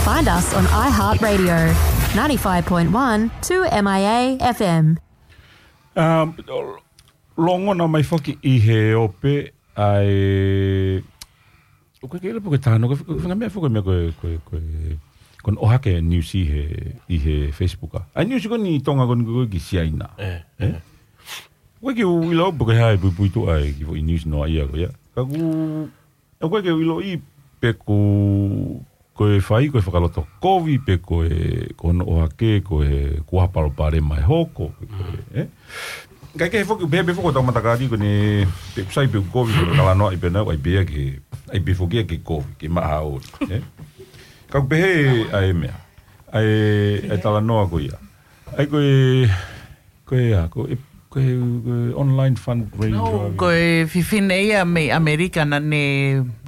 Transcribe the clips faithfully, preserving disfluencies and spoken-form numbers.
Find us on iHeartRadio, ninety-five point one two M I A F M. Um, longo na mai foki ʻi he ope ai. ʻOku ke ʻilo pē ko e tano, ko e, ko e fanga meʻa foki meʻa ko e, ko e, ko e, ko hono ʻohake news ʻi he, ʻi he Facebook a. Ai news ko eni Tonga ko eni ko e ki Siaina. Eh, eh. ʻOku ke ʻilo pē ko e hā e puipuituʻa e kiʻi foʻi news noa ia ko ia. Ka ʻoku ʻOku ke ʻiloʻi pē ko, ko e fai, ko e fakaloto kovi, pe ko e, ko hono ʻohake, ko e kuaha palopalema e hoko, pe ko e, eh? Kae kehe foki, pehē pē foki ʻetau matakali ko eni, pe kusai pe kovi, ko e talanoa ʻi pē nau, ai pē ke, ai pē foki ke kovi, ke maha ʻoli, eh? Ka ʻoku pehē ʻa e meʻa, ʻa e, ʻa e talanoa ko ia. Ai ko e, ko e, ʻa, ko e, ko e, ko e online fundraiser. No, ko e fefine ia mei ʻAmelika naʻa ne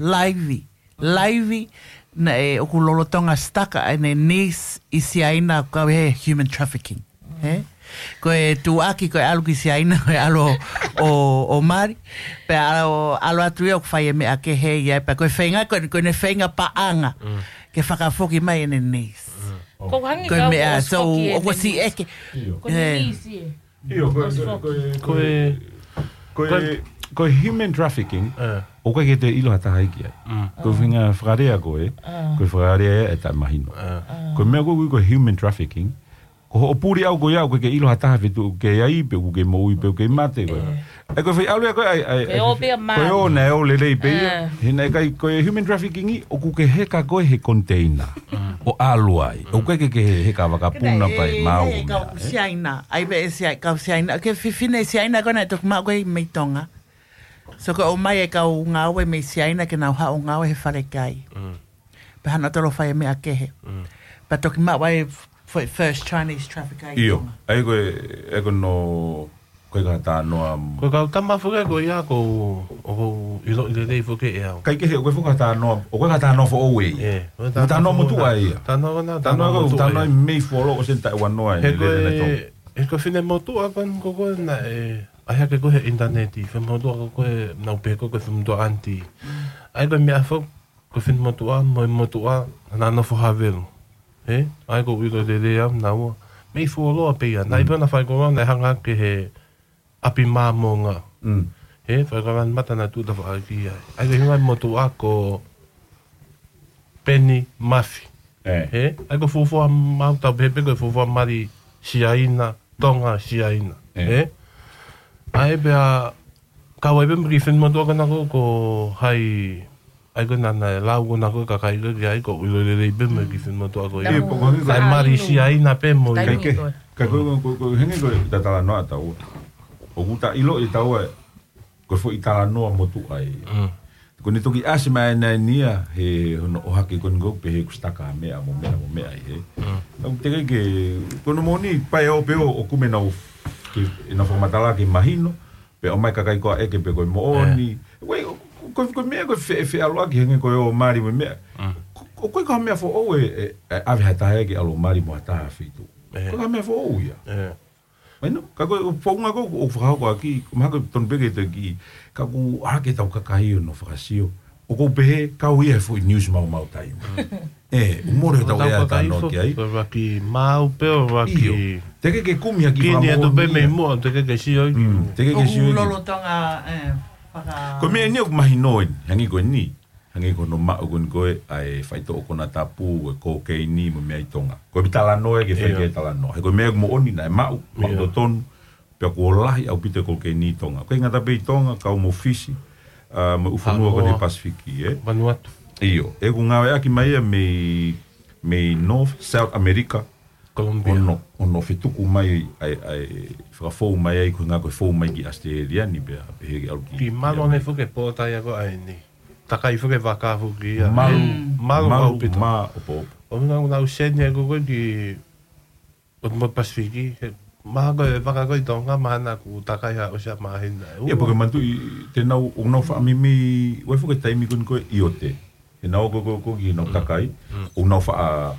laivi. Laivi naʻe ʻoku lolotonga stuck ʻene niece ʻi Siaina ʻoku kau he human trafficking. He? Ko e tuʻuaki, ko e ʻalu ki Siaina, ko e ʻalu ʻo, ʻo mali. Pea ʻalu, ʻalu atu ia ʻoku fai e meʻa kehe ia. Pea ko e feinga, ko e, ko ʻene feinga paʻanga. Mm. Ke fakafoki mai ʻene niece. Mm. Ko e hangē Ko e ka meʻa, ʻosi so, foki e ʻoku ne si niece. ʻEke. Ko e Eh. niece. ʻIo, ko e, ʻOsi ko e, foki. ko e, Ko e, ko e, ko e, ko e human trafficking, Eh. ʻoku ʻikai ke te ʻilo ha taha ia ki ai. Mm. Ko e feinga fakalea ko ē, Ah. ko e fakalea ia ʻe taʻemahino. Ah. Ko e meʻa ko ē ko e human trafficking, ko hoʻo puli ʻau ko ia ʻoku ʻikai ke ʻilo ha taha feituʻu ʻoku ke ʻi ai, pe ʻoku ke moʻui, pe ʻoku ke mate ko ē. Eh. ʻE ko e fai ʻalu ia ko ē, ai, ai, Ko e ai, ʻo pea ko e mali. ʻo naʻe ʻo lelei pē ia. Eh. He naʻe ʻikai ko e human trafficking ʻi, ʻoku ke heka ko ē he container. Mm. ʻO ʻalu ai. ʻOku ʻikai ke ke heka vakapuna Kena pai e, mau e ko kau meʻa, eh? Siaina. Ai pē e Siai-, kau Siaina. Ke fefine Siaina ko ē naʻe toki maʻu ko ē mei Tonga. So ko e ʻomai e kau ngāue mei Siaina ke nau haʻu ʻo ngāue he falekai. Mm. Pea hana tolo fai e meʻa kehe. Mm. Pea toki maʻu ai f-, first Chinese trafficker ʻi ʻIo, Tonga. ai ko e, ai ko no, ko e ka tanoa. Ko e kau tama foki ko ia ko, ʻoku ʻiloʻi lelei foki ʻe au. Kai kehe, ko e foki ka tanoa, ʻoku ʻikai ka tanoa foʻou ē. Eh, ko e Ko tanoa tanoa foʻou motuʻa na. ia. Tanoa na, Tanoa tanoa ko, motuʻa tanoa ia. mei fuoloa ʻo sen taʻu ua noa He e ko lele e, na tau. he ko e fefine motuʻa ko eni ko ko na e, ʻai hake ko ē he ʻinitaneti, fefine motuʻa ko ko e nau pehē ko ko e fefine motuʻa aunty. Ai ko e meʻa foki, ko e fefine motuʻa, mo e motuʻa, naʻa nofo Havelu. He? Ai ko e ʻilo lelei au naua. Mei fuoloa pē ia. Naʻe Mm. pē na fai ko na, naʻe hanga ki he ʻapi Māmonga. Mm. He, fai ko na mata na tuta faʻaki ai. Ai ko e hinga motuʻa ko Peni Mafi. Eh. He, ai ko e fuofua mau tau pehē pē ko e fuofua mali Siaina, Tonga, Siaina. Eh. He? Ai pea, kau ai pē mo e kiʻi fefine motuʻa ko ena ko, ko hai, ai ko ena naʻe lau ko ena ko e kakai ko ē ki ai ko e ʻilo lelei pē mo e kiʻi fefine motuʻa ko ia. Namu Pea ko e hangē ko Sai mali Siaina pē mo Kai ia. Taimi ke, ko ē. ka ko, ko, ko, ko, hangē ko e ta talanoa ʻa taua. ʻOku ta ʻiloʻi ʻe taua, ko e foʻi talanoa motuʻa ia. Mm. Ko ʻene toki ʻasi mai ʻa ʻene niece he hono ʻohake ko eni ko ē pehē kuo stuck ha meʻa mo meʻa mo meʻa ʻi he. Mm. Naʻa ku teʻeki ke, ko hono moʻoni pae ʻo pē ʻo, ʻoku me nau ke, ʻenau fakamatala ke mahino, pea ʻomai kakai ko ē ʻeke pe ko e moʻoni. Eh. Ko e, ko e, ko e meʻa ko e fe-, feʻaluʻaki hangē ko e ʻo mali mo e meʻa. Mm. Ko, ko, ko e ka meʻa foʻou ʻe, ʻe, ʻe ʻave ha taha ia ke ʻalu ʻo mali mo ha taha feituʻu. Eh. Ko e ka meʻa foʻou ia. Eh. Mahino, ka ko e founga ko ē ʻoku fakahoko ʻaki, ko e mahalo ko e tonu pē ke te ki, ka ʻoku ʻalu ke tau kakai ʻo nau fakasio. ʻOku ou pehē, kau ia he foʻi news maumau taimi. Mm. ʻE, ʻoku mole ʻetau Tau ʻea kakai tano fo-, ki ai. ko e vaki mau pē ʻo vaki ʻIo. Teʻeki ke kumi ha kiʻi Kini atu pē fakamoʻoni mei ia. muʻa, teʻeki ke sio ʻi. Mm, teʻeki ke ʻOku sio ʻi. lolotonga, eh, faka- Ko e meʻa eni ʻoku mahino eni, hangē ko eni. Hangē ko hono maʻu ko eni ko ē, ʻa e faitoʻo konatapu, ko e kokeini, mo e meʻa ʻi Tonga. Ko e talanoa ia ke fai ʻIo. ke talanoa. He ko e meʻa ʻoku moʻoni naʻe maʻu, maʻu ʻIo. totonu, pea kuo lahi ʻaupito e kokeini ʻi Tonga. ʻOku ʻikai ngata pē ʻi Tonga, kau mo Fisi, ʻa, mo e ʻū fonua ko eni Samoa. Pasifiki, ē? Vanuatu. ʻIo, ʻoku ngāueʻaki mai ia mei, mei North, South America, Colombia. ʻO nau, ʻo nau fetuku mai ʻa e, ʻa e fakafou mai ai ko e ngaahi ko e fou mai ki ʻAositelēlia ni pea, pehē ke ʻalu ki, Ki malu ki ʻene foki e pōtai ako ʻa eni. Takai foki e vaka foki ia. Malu, Mm. malu malu ʻaupito. maʻopoʻopo. ʻO nau, nau seni e ko ko ki ʻo mo Pasifiki. He, maha ko e vaka ko ʻi Tonga, maha naʻa ku takai ha ʻosi ʻa māhina. ʻIo, pea ko e manatuʻi, te nau, ʻo nau faʻamimi, ʻoku ʻi ai foki e taimi ko eni ko e ʻiote. He nau ko, ko, ko ki nau Mm. takai, Mm. ʻo nau faʻa,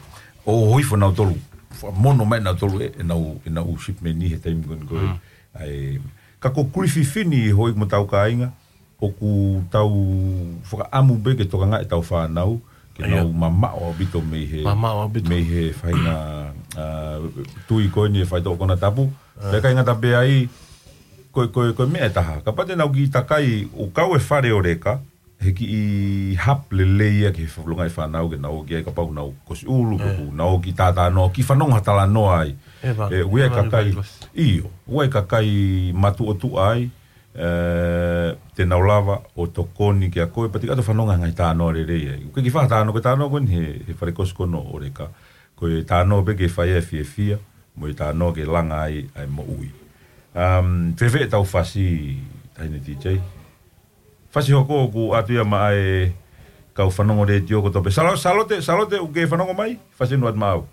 ʻo hifo nautolu, faʻa mono mai nautolu ē, ʻenau, ʻenau shipment ʻi he taimi ko eni ko ē. Mm. ʻAi, ka ko Griffith ni hoi mo tau kāinga, ʻoku tau fakaʻamu pē ke tokangaʻi ʻetau fānau, ke nau mamaʻo ʻaupito mei he mamaʻo ʻaupito mei he faʻahinga tui ko eni e faitoʻo konatapu. Pea ʻikai ngata pē ai, ko e ko e meʻa ʻe taha, kapau te nau kiʻi takai ʻo kau e fale ʻo Leka he kiʻi hub lelei ia ki he fafulonga e fānau ke nau ō ki ai kapau nau kosi ʻulu pe kuo nau ō ki tātānoa ki fanongo ha talanoa ai. ʻE ua e kakai, ʻio, ua e kakai matuʻotuʻa ai, te nau lava ʻo tokoni kia koe pea te ke ʻalu ʻo fanongo ha ngaahi talanoa lelei ai. ʻOku ke faʻa talanoa, ko e talanoa ko eni he fale kosi ko eni ʻo Leka, ko e talanoa pē ke fai ai e fiefia mo e talanoa ke langa ai ʻa e moʻui. Fēfē ʻetau fasi, Taʻahine T J? Fasi hoko ʻoku ʻatu ia maʻa e kau fanongo letiō kotoa pē. Salo- Salote, Salote, ʻoku ke fanongo mai? Fasi ʻe ʻatu maʻau.